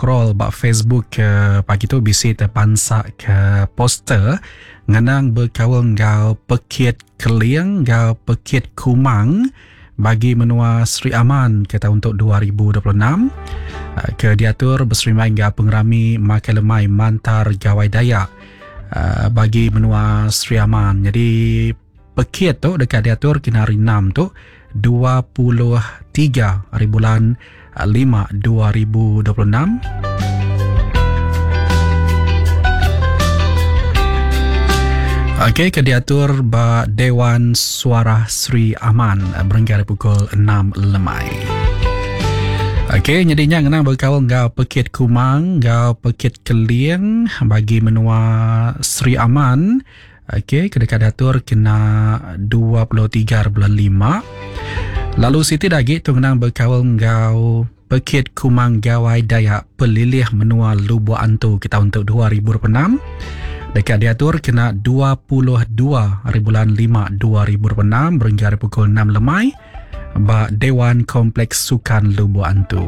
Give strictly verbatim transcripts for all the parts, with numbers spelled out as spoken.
scroll ba Facebook ke pagi tu bisi terpansak ke poster ngenang berkaul ngau Pekit Keling ngau Pekit Kumang bagi menua Sri Aman ke tahun untuk dua ribu dua puluh enam ke diatur berserimbai ngau pengerami Makai Lemai Mantar Gawai Dayak bagi menua Sri Aman. Jadi pekit tu dekat diatur kena hari enam tu dua puluh tiga hari bulan lima dua ribu dua puluh enam. Okey, ke diatur ba Dewan Suara Sri Aman berengkah pukul enam lemai. Okey, jadinya ngenang berkaul ngau Pekit Kumang ngau Pekit Keling bagi menua Sri Aman. Okey, kedekat diatur kena dua puluh tiga bulan lima. Lalu Siti lagi tu ngenang berkaul ngau Pekit Kumang Gawai Dayak Pelilih Menua Lubuk Antu kita untuk dua ribu dua puluh enam. Dekat diatur kena dua puluh dua hari bulan lima dua ribu dua puluh enam berengkah pukul enam lemai ba Dewan Kompleks Sukan Lubuk Antu.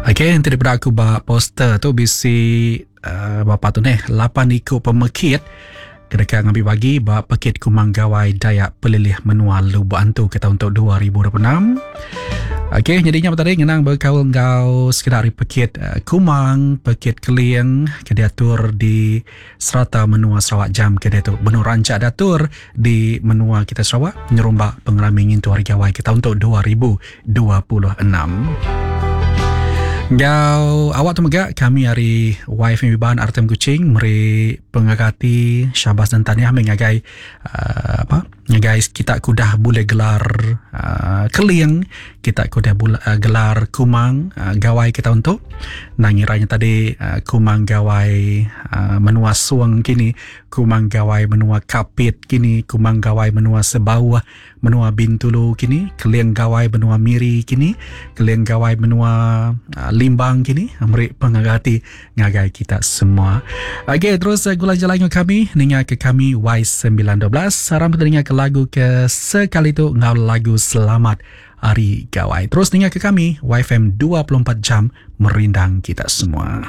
Okey, nanti daripada aku ba poster tu bisi uh, bapa tu neh lapan ikut pemekit kedekat ngambil bagi ba Pekit Kumang Gawai Dayak Pelilih Menua Lubuk Antu ke tahun untuk dua ribu dua puluh enam. Okey, jadinya tadi ngenang berkaul ngau sekedar Pekit uh, Kumang, Pekit Keling ke diatur di serata menua Sarawak jam ke diatu. Benur rancak diatur di menua kita Sarawak nyerumbak pengerami ngintu Hari Gawai ke tahun untuk dua ribu dua puluh enam. Ngau awak tu mega kami hari Y F M Iban R T M Kuching meri pengagati syabas dan tahniah mengagai uh, apa guys kita kudah boleh gelar uh, Keling, kita kudah bula, uh, gelar Kumang uh, Gawai kita untuk nangiranya tadi uh, Kumang Gawai uh, menua Suang kini, Kumang Gawai menua Kapit kini, Kumang Gawai menua Sebawah menua Bintulu kini, Keling Gawai menua Miri kini, Keling Gawai menua uh, Limbang kini. Meri pengagati ngagai kita semua. Okey, terus uh, gula jalan kami ninga ke kami Y sembilan dua belas. Saram kita ke lagu ke sekali tu ngau lagu Selamat Hari Gawai. Terus dengar ke kami Y F M dua puluh empat jam merindang kita semua.